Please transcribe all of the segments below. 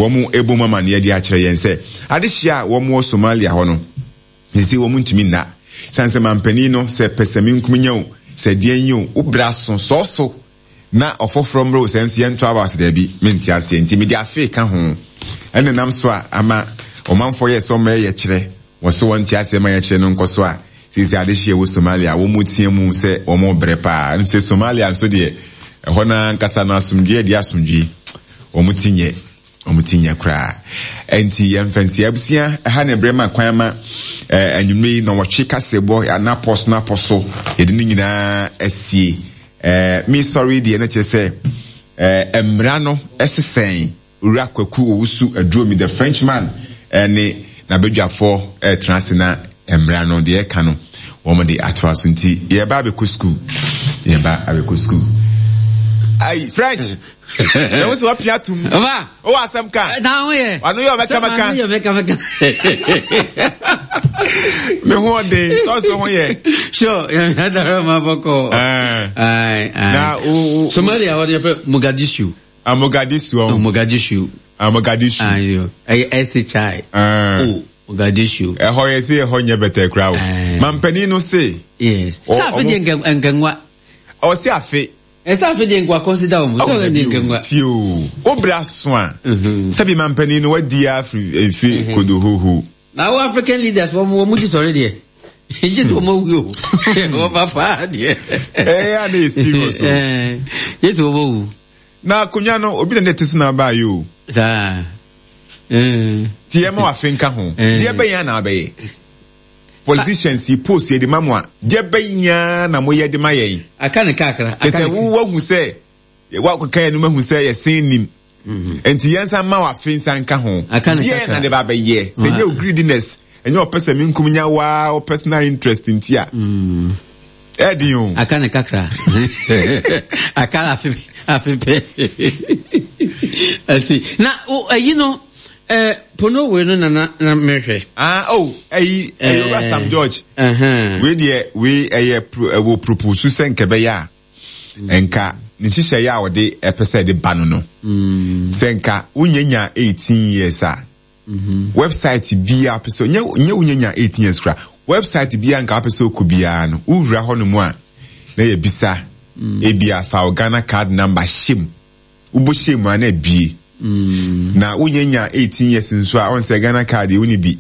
wɔn ɛbɔ mu amaneɛ de akyerɛ yɛn sɛ adehyeɛ a wɔn wɔ Somalia hɔ no sisi wɔn ntumi nna sane sɛ mampanin no sɛ pɛsɛmenkominya o sɛ deɛn yi o wo bra so sɔɔ so na ɔfoforɔ mmerɛ o sɛ nso yɛnto aba ɔsɛ daabi mente aseɛ nti mede afe ka ho ɛna nam so a ama ɔmanfoɔ yɛ sɛ ɔma ɛyɛ kyerɛ wɔ so wɔnte aseɛ ma yɛkyerɛ no nkɔ so a seesei adehyeɛ wɔ Somalia wɔn mu teɛ mu sɛ wɔn rebrɛ paa ɛno sɛ Somalia nso deɛ ɛhɔ no ankasa no asomdwoeɛ deɛ asomdwoeɛ wɔn ti nyɛ wɔn ti nyɛ koraa ɛnti yɛn mfɛnsi abusua ɛha na ɛbrɛ ma kwan ama ɛɛ anwummerɛ yi na wɔtwe kaseɛbɔ anapɔ so napɔ so yɛde ne nyinaa asie ɛɛ mi sɔre deɛ na kyerɛ sɛ ɛɛ mmara no ɛsesɛn. Owura Kwaku Owusu Aduomi, the Frenchman, ne n'abadwafoɔ retena ase na mmara no deɛ ɛka no wɔn de atoa so nti yɛreba abɛkɔ sukuu yɛreba abɛkɔ sukuu. Ayi French na wo sɛ wapia atum wowɔ asɛm ka na ho yɛ wano yɛ ɔmɛkamɛka yɛ ɔmɛkamɛka me ho ɔden sɔɔso ho yɛ sure yɛdara ma bɔkɔ na Somalia wɔde yɛfrɛ Mogadishu Ah, Mogadishu. Oh, Mogadishu. Ah, Mogadishu. Ah, yo. Ɛyɛ S-H-I. Ah. O, Mogadishu. Ɛhɔ yɛ se ɛhɔ nyɛ bɛtɛ kura o. Mampanin no se. Yes. Sɛ afe deɛ nkɛnwa. Ɔse afe. Ɛsɛ afe deɛ nkwa consider wɔn. Sɛ ɔyɛ deɛ nkɛnwa. Tie o. O bra so a. Sɛbi mampanin no wadi afiri efiri mhm. kodohoho. Na wo African leaders wɔn wɔn di sɔre deɛ. Gye sɛ wɔn awu o. Wɔn papa deɛ. Ɛyɛ a na yɛ serious o. Gye sɛ wɔn awu. Na akonnwa no obi na ne te so na aba yi o. Saa. Ti yɛ ma wafe nka ho. Deɛ bɛyɛ na abɛyɛ. Politicians yi post yɛ de ma mo a. Deɛ bɛyɛ na mo yɛ de ma yɛn. Aka ne kakra. Kyɛ sɛ wo wahu sɛ wakɔka yɛn no mahu sɛ yɛsen nim. Nti yɛn nsa ma wafe nsa nka ho. Deɛ na de ba bɛyɛ. Sɛ nyɛ o greediness. Ɛnyɛ ɔpɛ sɛ menkum nya waa o personal interest nti a. Ɛden o. Aka ne kakra. Aka afe afe pɛ. Ɛsi na ɛyi no ɛɛ pono wei no na na na mehwɛ. Ah oh ɛyi ɛyɛ owura Sam George. Wei deɛ wei ɛyɛ ɛwɔ propose sɛ nkɛbɛyɛ a nka ne nhyehyɛeɛ a ɔde ɛpɛ sɛ ɛde ba no no. Sɛ nka wonya nya 18 years a. Website biara pɛ sɛ nyɛ nyɛ wonya nya 18 years kora. Website biara nka wopɛ sɛ wokɔ biara no, wowura hɔ nom a na yɛbisa mm. ebia fa wo Ghana card number hyɛ mu. Wobɔ hyɛ mu a na abie. Mm. Na wonya nya 18 years nso a ɔn sɛ Ghana card yɛ woni bi.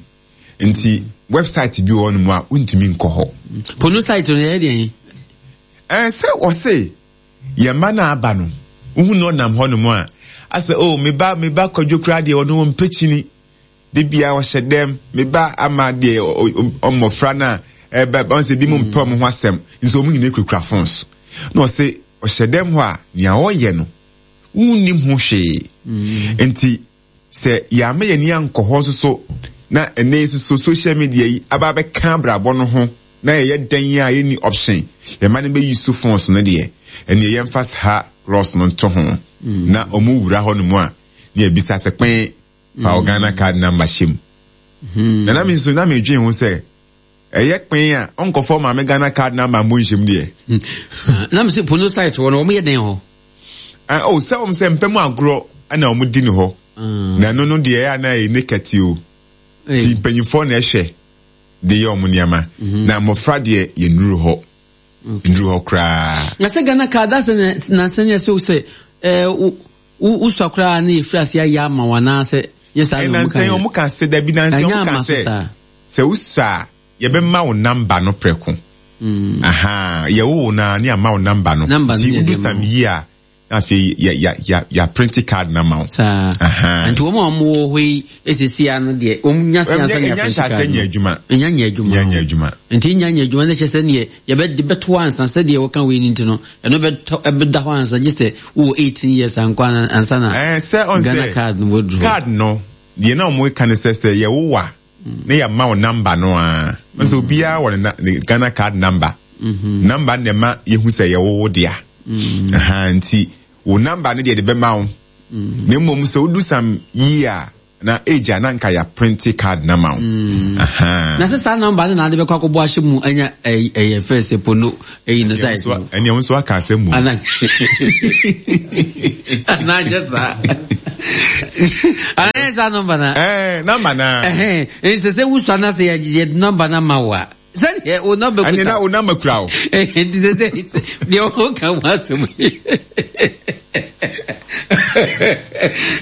Nti website bi wɔ hɔ nom a wontumi nkɔ hɔ. Pono site no yɛ deɛn? Ɛɛ sɛ wɔse Yɛn mma no aba no, wohu no ɔnam hɔnom a, asɛ oh, me ba, me ba Kwadwo koraa deɛ ɔno ɔmpɛ kyini. De bia ɔhyɛ dɛm, me ba ama deɛ mmɔfra no a ɛba, ɔn sɛ bi mu mpɛ ɔmo ho asɛm, nso ɔmo nyinaa kurakura phones. Na ɔse ɔhyɛ dɛm hɔ a, nea ɔyɛ no, wonnim ho hwee. Nti Sɛ yɛamma yɛn ani ankɔ hɔ nso so na ɛnnɛ yi nso so social media yi aba abɛka abrabɔ no ho na yɛyɛ dɛn a yɛnni option, yɛn mma no bɛ use phones no deɛ, ɛnneɛ yɛmfa saa clause no nto ho na wɔn wura hɔ nom a na yɛbisa sɛ kpɛn fa wo Ghana card number hyɛ mu. Na na me nso na medwen ho sɛ ɛyɛ kpɛn a ɔnkɔfa ɔmaame Ghana card number mmɔ nhyɛ mu deɛ. Na me sɛ pono site hɔ no wɔn yɛ dɛn hɔ? Ah, oh, sɛ wɔn sɛ mpɛ mu agorɔ na wɔn di no hɔ. Mm. Na ɛno no deɛ ɛyɛ na ɛyɛ naked o. Ti mpanyinfoɔ na ɛhwɛ de yɛ wɔn nneɛma. Mm-hmm. Na mmɔfra deɛ yɛ nnuru hɔ. Nnuru hɔ koraa. Na sɛ Ghana card asɛ na sɛ nyɛ sɛ sɛ ɛɛ wosua koraa na yɛfiri ase ayɛ ama wɔn anaasɛ nyɛ saa na wɔn ka yɛ. Wɔn ka sɛ dabi na nsɛn wɔn ka sɛ sɛ wosua a yɛbɛma wo namba no prɛko. Mm. Aha, yɛwo wo na ne ama wo namba no. Nti wodu sam yi a, na afei yɛ yɛ yɛ yɛaprinte card na ma wo. Saa. Aha. Nti wɔn a wɔn wɔ hɔ yi esisi ano deɛ wɔn nya se ansa na yɛaprinte card. Ɛnya nhyɛ nyɛ adwuma. Ɛnya nyɛ adwuma. Nya nyɛ adwuma. Nti nya nyɛ adwuma ne kyɛ sɛ neɛ yɛbɛ de bɛto ansa sɛdeɛ wɔka wei ni nti no ɛno bɛtɔ ɛbɛda hɔ ansa gye sɛ wowɔ 18 years ankɔ ansa na. Ɛɛ sɛ ɔn sɛ Ghana card no wɔduru. Card no deɛ na wɔn ka ne sɛ sɛ yɛwowa ne yɛama wo number no a nso obiara wɔ ne Ghana card number mm-hmm. number na ɛma yɛhu sɛ yɛwo wo dea mm-hmm. nti wo number no deɛ de bɛma wo mm-hmm. na mmom sɛ wodu sam yie a Na age a na nka yɛ printe card na ma wo. Mm. Na sɛ saa number no na ade bɛkɔ akɔbɔ ahyɛ mu anya ɛyɛ fɛ sɛ pono ɛyi no side no. Ɛnea wo nso aka asɛm mu. Ana ana anyɛ saa. Ana anyɛ saa number na. Ɛɛ number na. Ɛhɛn nsɛ sɛ wusua na sɛ yɛ number na ma wo a. Sɛdeɛ wo nɔmba kuta. Ɛnna na wo nɔmba kura o. Nti sɛ sɛ deɛ ɔka ho asɛm yi.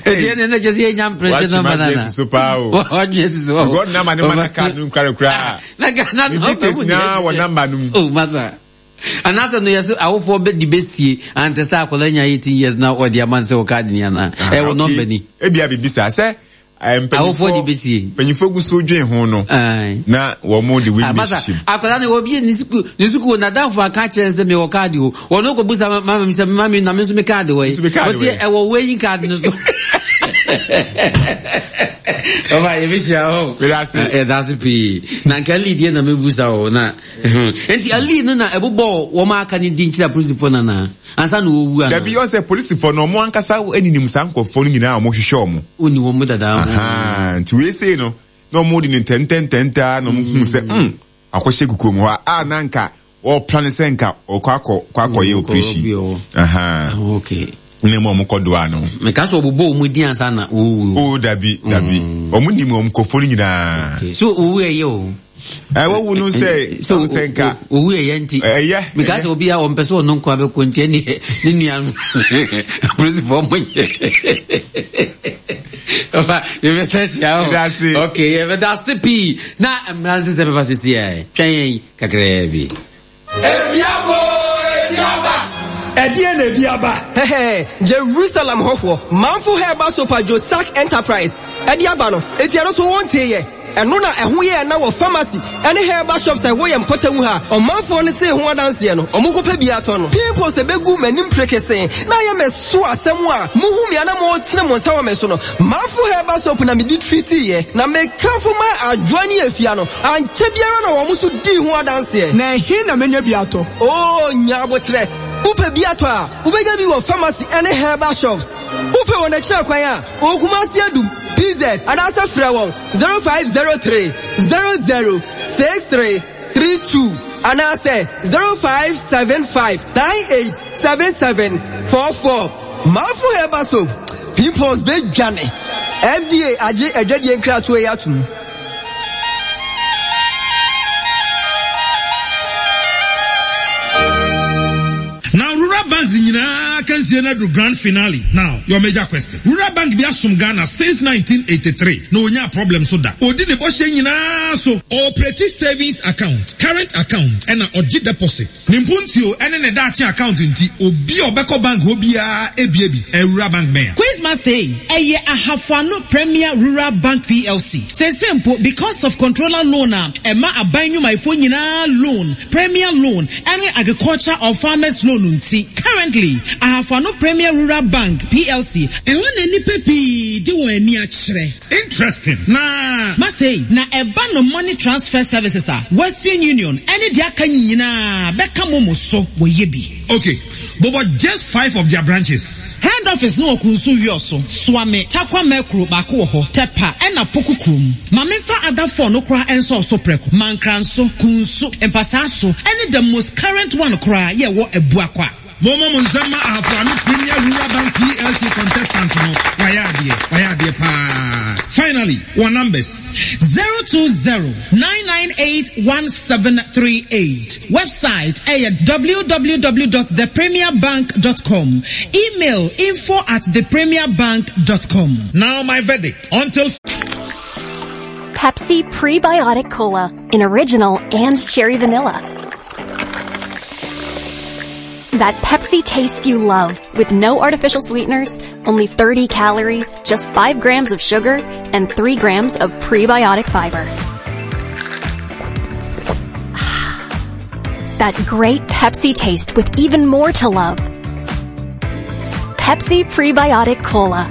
Nti ɛnna na kyɛ sɛ yɛnya mprɛnte nɔmba nana. Watwe so paa o. Watwe si so. Because nɔmba ne ma na card no nkura kura. Na ka na nɔmba mu nyinaa wɔ nɔmba no mu. Oh masa. Anaasɛ no yɛ so awofoɔ bɛ di bɛsie ante sɛ akwadaa nya 18 years na ɔde ama sɛ wɔ card ni anaa. Ɛwɔ nɔmba ni. Ebia bibi saa sɛ Awofoɔ de bɛsie. Mpanyinfoɔ gu so dwen ho no. Na wɔn de wei bɛhyehyɛ mu. Akwadaa no obi ne sukuu ne sukuu n'adamfo aka kyerɛ sɛ mewɔ kaadi o. Wɔn kɔ busa mama mi sɛ mami na mi nso mi kaadi wɔ yi. Wɔsi ɛwɔ wei yi kaadi no so. Ɔba yɛ bi hyia hɔ. Yɛda ase pii. Na nka lead yɛ na mi busa o na. Nti ali no na ɛbobɔ wɔn aka ne din kyerɛ apolisifoɔ nana. Ansa na wɔwu anaa? Dabi, ɔsɛ polisifo no, wɔn ankasa ninim saa nkurɔfoɔ no nyinaa a wɔhwehwɛ wɔn. Wonni wɔn mu dada. Ahaa, nti wei sei no, na wɔn de no ntɛntɛntɛntɛ na wɔn hu sɛ, mm, akɔhyɛ kukuo mu hɔ a, na nka wɔplan sɛ nka ɔkɔ akɔ kɔ akɔyɛ operation. Ahaa. Ah, okay. Na mu wɔn kɔ doa no. Meka sɛ wɔbobɔ wɔn din ansa na wɔwu. Oh, dabi, dabi. Wɔn nim wɔn nkurɔfoɔ no nyinaa. Okay. So owu ɛyɛ o. Ɛwɔ wu no sɛ sɛ sɛ nka. Owu ɛyɛ nti. Ɛyɛ. Mika sɛ obi a wɔn pɛ sɛ ɔno nko abɛkɔ nti ɛne ne nua no polisifoɔ mo nyɛ. Ɔfa yɛbɛsɛ hyia o. Yɛdase. Okay yɛbɛdase pii na mmara nsesɛ bɛba sisi ɛ twɛn yɛn kakraa bi. Ebi aba oo, ebi aba. Ɛdeɛn na ebi aba? Hɛhɛ, Jerusalem hɔfoɔ, Manfo Herbal Soap a Josak Enterprise de aba no, enti ɛno nso wonteeɛ? Ɛno na ɛho yɛɛ na wɔ pharmacy ne herbal shops a ɛwɔ yɛn mpɔtam ha a ɔmanfoɔ no tee ho adanseɛ no, wɔkɔpɛ bi atɔ no. Pimples bɛgu m'anim prekesee na ayɛ me so asɛm a mohu me a na motene mo nsa wɔ me so no, Manfo Herbal Soap na mede treatiiɛ, na mekamfo maa Adwoa ne Afia no. Ankyɛ biara na wɔn nso dii ho adanseɛ. Na ɛhe na mɛnya bi atɔ? Oo, nya aboterɛ. Wopɛ bi atɔ a, wobɛnya bi wɔ pharmacy ne herbal shops. Wopɛ wɔn akyiri kwan a, wɔ Kumasi Adum, PZ, anaasɛ frɛ wɔn 0503 00 63 32 anaasɛ 0575 98 77 44. Manfo Herbal Soap, pimples bɛdwane. FDA agye adwadie nkratoɔ yi atom. Now rural banks nyinaa akansie no aduru grand finale. Now your major question. Rural bank bi asom Ghana since 1983 na onyaa problem so da. Odi ne bɔhyɛ nyinaa so. Ɔoperate savings account, current account ɛna ɔgye deposit. Ne mpuntuo ne ne daakye account nti obi a ɔbɛkɔ bank hɔ biara bue bi. Rural bank bɛn a? Quizmaster ei, ɛyɛ Ahafo Ano Premier Rural Bank PLC. Seesei mpo, because of controller loan a ɛma aban nnwumayɛfoɔ nyinaa loan, Premier Loan, ɛne Agriculture or Farmers Loan nti, currently, Ahafo Ano Premier Rural Bank PLC, Ɛhɔ na nnipa pii de wɔn ani akyerɛ. Interesting na. Marseille, na ɛba no money transfer services a, Western Union ɛne deɛ aka nyinaa bɛka momo so wɔyɛ bi. Ok, bobɔ just five of their branches. Head office no wɔ Kunsu Wiɔso, Suame, Tarkwa Mɛkuro baako wɔ hɔ, Tɛpa ɛna Poku kurom. Ma menfa other four no koraa nsɔw so prɛko, Mankranso, Kunsu, Mpasaaso ɛne the most current one koraa yɛ ɛwɔ Abuakwa. Mommɔ mo nsam ma Ahafo Ano Premier Rural Bank PLC contestant no, wayɛ adeɛ, wayɛ adeɛ paa. Finally, wɔn numbers. 020 998 1738. Website ɛyɛ www dot thepremierbank dot com. Email info at thepremierbank dot com. Now my verdict, until. Pepsi Prebiotic Cola in original and cherry vanilla. That Pepsi taste you love with no artificial sweeteners, only 30 calories, just 5 grams of sugar, and 3 grams of prebiotic fiber. That great Pepsi taste with even more to love. Pepsi Prebiotic Cola.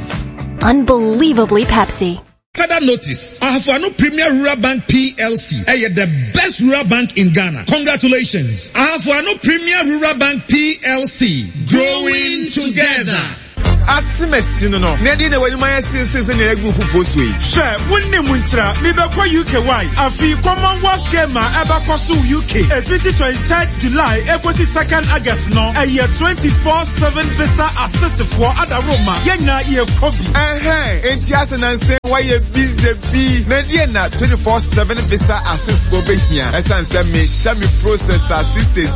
Unbelievably Pepsi. Further notice, Ahafo Ano Premier Rural Bank PLC ɛyɛ the best rural bank in Ghana. Congratulations! Ahafo Ano Premier Rural Bank PLC, growing together. Asemasi no no, na ɛdeɛn na w'anim ayɛ seesei sɛnea yɛagu fufuo so yi? Hwɛ, wonnim ntira, mebɛkɔ UK wai. Afei Commonwealth Game a ɛbɛkɔ so wɔ UK ɛfiti 23rd July ɛkɔsi 2nd August no, ɛyɛ 24/7 visa assist foɔ adaworoma, yɛn nyinaa yɛkɔ bi. Ɛhɛn, enti asɛ nansa yi woayɛ busy bi. Na ɛdeɛn na 24/7 visa assist foɔ bɛhia? Ɛsiane sɛ mehyɛ me process ase seesei.